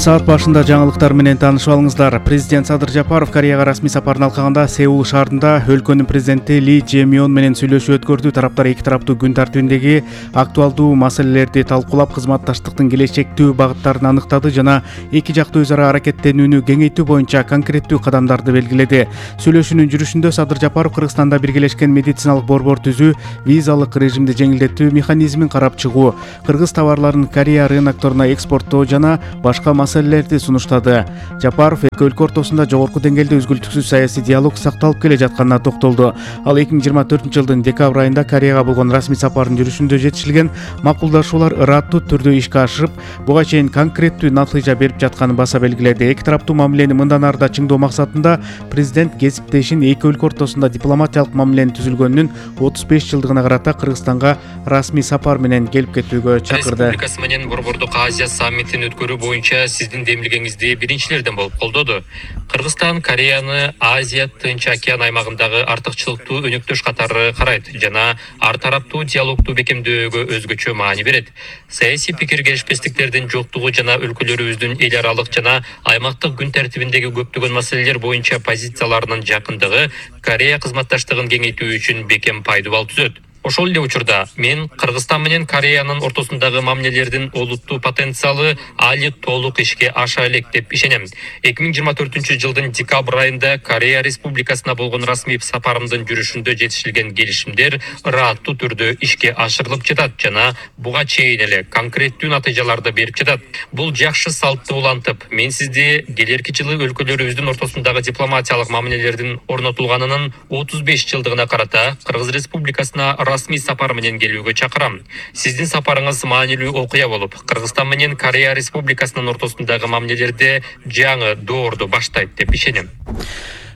Саат башында жаңылыктар менен таанышып алыңыздар. Президент Садыр Жапаров Кореяга расмий сапарын алкаганда Сеул шаарында өлкөнүн президенти Ли Же-мyon менен сүйлөшүү өткөрдү. Тараптар эки тараптуу күн тартибиндеги актуалдуу маселелерди талкуулап, кызматташтыктын келечектүү багыттарын аныктады жана эки жактуу өз ара аракеттенүүнү кеңейтүү боюнча конкреттүү кадамдарды белгиледи. Сүйлөшүүнүн жүрүшүндө Садыр Жапаров Кыргызстанда биргелешкен медициналык борбор түзүү, визалык режимди жеңилдетүү механизмин карап чыгуу, кыргыз товарларын Корея рынокторуна экспорттоо жана башка маселелерди сунуштады. Жапаров эки өлкө ортосунда жогорку деңгээлде үзгүлтүксүз саясий диалог сакталып келе жатканына токтолду. Ал 2024-жылдын декабрь айында Кореяга болгон расмий сапардын жүрүшүндө жетишилген макулдашуулар ыраттуу түрдө ишке ашырып, буга чейин конкреттүү натыйжа берип жатканын баса белгиледи. Эки тараптуу мамилени мындан ары да чыңдоо максатында президент кесиптешин эки өлкө ортосунда дипломатиялык мамиленин түзүлгөнүнүн 35 жылдыгына карата Кыргызстанга расмий сапар менен келип кетүүгө чакырды. Республикасы менен Борбордук Азия саммитин өткөрүү боюнча сиздин демилгеңизди биринчилерден болуп колдоду. Кыргызстан Кореяны Азия Тынч океан аймагындагы артыкчылыктуу өнөктөш катары карайт жана ар тараптуу диалогду бекемдөөгө өзгөчө маани берет. Саясий пикир келишпестиктердин жоктугу жана өлкөлөрүбүздүн эл аралык жана аймактык күн тартибиндеги көптөгөн маселелер боюнча позицияларынын жакындыгы Корея кызматташтыгын кеңейтүү үчүн бекем пайдубал түзөт. Ошол эле учурда мен Кыргызстан менен Кореянын ортосундагы мамилелердин олуттуу потенциалы али толук ишке аша элек деп ишенем. 2024-жылдын декабрь айында Корея Республикасына болгон расмий сапарымдын жүрүшүндө жетишилген келишимдер ыраттуу түрдө ишке ашырылып жатат жана буга чейин эле конкреттүү натыйжаларды берип жатат. Бул жакшы салтты улантып, мен сизди келерки жылы өлкөлөрүбүздүн ортосундагы дипломатиялык мамилелердин орнотулганынын 35 жылдыгына карата Кыргыз Республикасына расмий сапар менен келүүгө чакырам. Сиздин сапарыңыз маанилүү окуя болуп, Кыргызстан менен Корея Республикасынын ортосундагы мамилелерди жаңы доорду баштайт деп ишенем.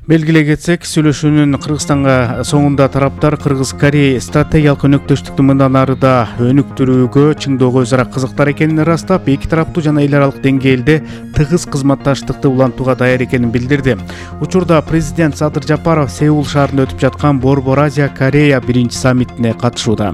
Белгилей кетсек, сүйлөшүүнүн Кыргызстанга соңунда тараптар Кыргыз-Корея стратегиялык өнөктөштүктү мындан ары да өнүктүрүүгө, чыңдоого өз ара кызыктар экенин ырастап, эки тараптуу жана эл аралык деңгээлде тыгыз кызматташтыкты улантууга даяр экенин билдирди. Учурда президент Садыр Жапаров Сеул шаарында өтүп жаткан Борбор Азия-Корея биринчи саммитине катышууда.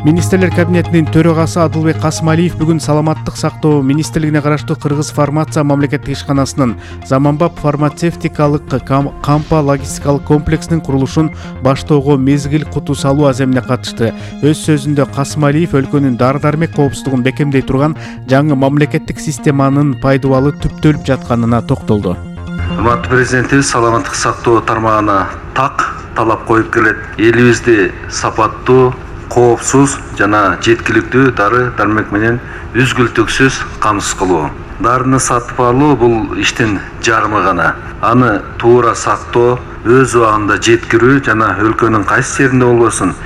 Министрлер кабинетинин төрагасы Адылбек Касымалиев бүгүн Саламаттык сактоо министрлигине караштуу Кыргыз фармация мамлекеттик ишканасынын заманбап фармацевтикалык кампа логистикалык комплексинин курулушун баштоого мезгил куту салуу аземине катышты. Өз сөзүндө Касымалиев өлкөнүн дары-дармек коопсуздугун бекемдей турган жаңы мамлекеттик системанын пайдубалы түптөлүп жатканына токтолду. Урматтуу президентибиз саламаттык сактоо тармагына талап коюп келет. Элибизди сапаттуу, коопсуз жана жеткиликтүү дары-дармек менен үзгүлтүксүз камсыз кылуу. Дарыны сатып алуу бул иштин жарымы гана. Аны туура сактоо, өз убагында жеткирүү жана өлкөнүн кайсы жеринде болбосун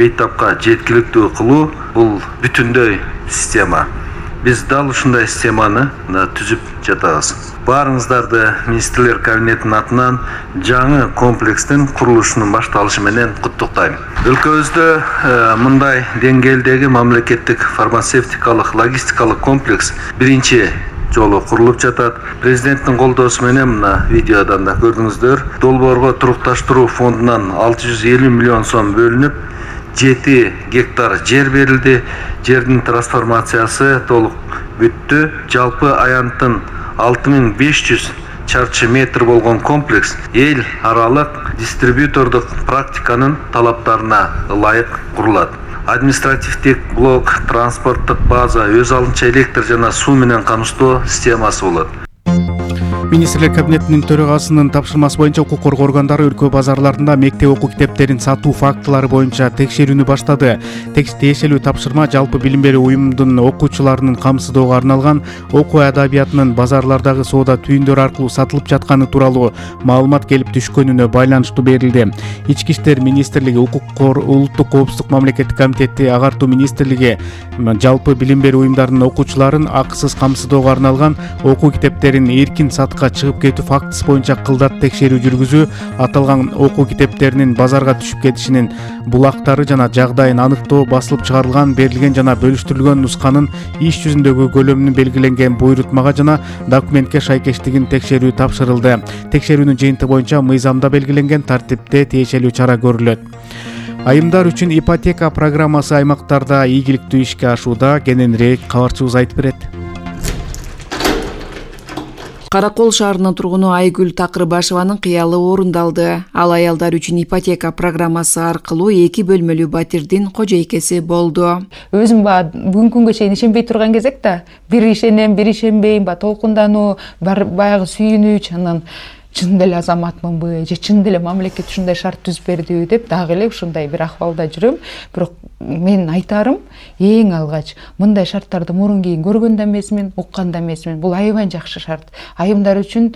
бейтапка жеткиликтүү кылуу бул бүтүндөй система. Биз дал ушундай системаны түзүп жатабыз. Баарыңыздарды министрлер кабинетинин атынан жаңы комплекстин курулушунун башталышы менен куттуктайм. Өлкөбүздө мындай деңгээлдеги мамлекеттик фармацевтикалык логистикалык комплекс биринчи жолу курулуп жатат. Президенттин колдоосу менен мына видеодон да көрдүңүздөр. Долбоорго турукташтыруу фондунан 650 миллион сом бөлүнүп, 7 гектар жер берилди. Жердин трансформациясы толук бүттү. Жалпы аянттын 6500 чарчы метр болгон комплекс эл аралык дистрибьютордук практиканын талаптарына ылайык курулат. Административдик блок, транспорттук база, өз алынча электр жана суу менен камсыздоо системасы болот. Министрлер кабинетинин төрагасынын тапшырмасы боюнча укук коргоо органдары өлкө базарларында мектеп окуу китептерин сатуу фактылары боюнча текшерүүнү баштады. Тиешелүү тапшырма жалпы билим берүү уюмунун окуучуларынын камсыздоого арналган окуу адабиятынын базарлардагы соода түйүндөрү аркылуу сатылып жатканы тууралуу маалымат келип түшкөнүнө байланыштуу берилди. Ички иштер министрлиги, улуттук коопсуздук мамлекеттик комитети, агартуу министрлиги жалпы билим берүү уюмдарынын окуучуларын акысыз камсыздоого арналган окуу китептерин эркин сатка чыгып кетүү фактысы боюнча кылдат текшерүү жүргүзүү, аталган окуу китептеринин базарга түшүп кетишинин булактары жана жагдайын аныктоо, басылып чыгарылган, берилген жана бөлүштүрүлгөн нусканын иш жүзүндөгү көлөмүнүн белгиленген буйрутмага жана документке шайкештигин текшерүү тапшырылды. Текшерүүнүн жыйынтыгы боюнча мыйзамда белгиленген тартипте тиешелүү чара көрүлөт. Айымдар үчүн ипотека программасы аймактарда ийгиликтүү ишке ашууда. Кененирээк кабарчыбыз айтып берет. Каракол шаарынын тургуну Айгүл Такырбашеванын кыялы орундалды. Ал аялдар үчүн ипотека программасы аркылуу 2 бөлмөлүү батирдин кожойкеси болду. Өзүм бүгүнкү күнгө чейин ишенбей турган кезек да, бир ишенем, бир ишенбейм, толкундануу, баягы сүйүнүч, анан чын эле азаматмынбы же чын эле мамлекет ушундай шарт түзүп бердиби деп дагы эле ушундай бир акыбалда жүрөм. Бирок мен айтарым, эң алгач мындай шарттарды мурун кийин көргөн да эмесмин, уккан да эмесмин. Бул аябай жакшы шарт. Айымдар үчүн